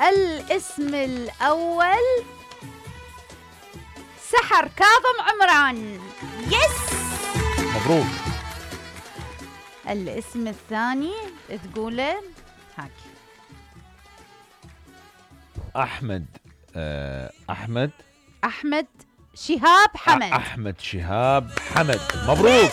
الاسم الأول سحر كاظم عمران. يس مبروك. الاسم الثاني تقوله هاك. أحمد شهاب حمد. أحمد شهاب حمد. مبروك.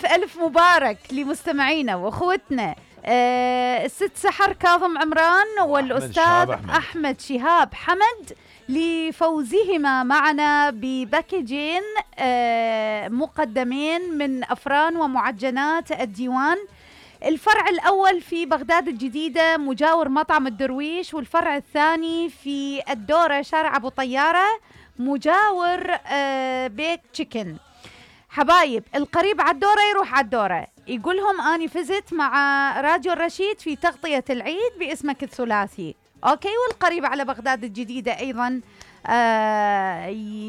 ألف مبارك لمستمعينا وأخوتنا الست سحر كاظم عمران والأستاذ أحمد شهاب حمد لفوزهما معنا بباكجين مقدمين من أفران ومعجنات الديوان. الفرع الأول في بغداد الجديدة مجاور مطعم الدرويش، والفرع الثاني في الدورة شارع أبو طيارة مجاور بيك تشيكن. حبايب القريب على الدورة يروح على الدورة، يقولهم أني فزت مع راديو الرشيد في تغطية العيد باسمك الثلاثي. أوكي، والقريب على بغداد الجديدة أيضا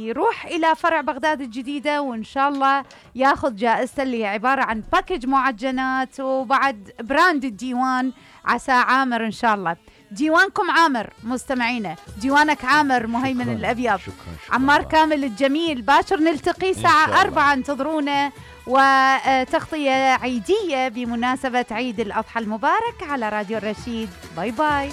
يروح إلى فرع بغداد الجديدة وإن شاء الله ياخذ جائزته اللي هي عبارة عن باكج معجنات وبعد براند الديوان عسى عامر إن شاء الله. ديوانكم عامر مستمعينا، ديوانك عامر مهيمن الأبيض. شكرا عمار كامل الجميل. باكر نلتقي الساعة 4 انتظرونا، وتغطية عيدية بمناسبة عيد الأضحى المبارك على راديو الرشيد. باي باي.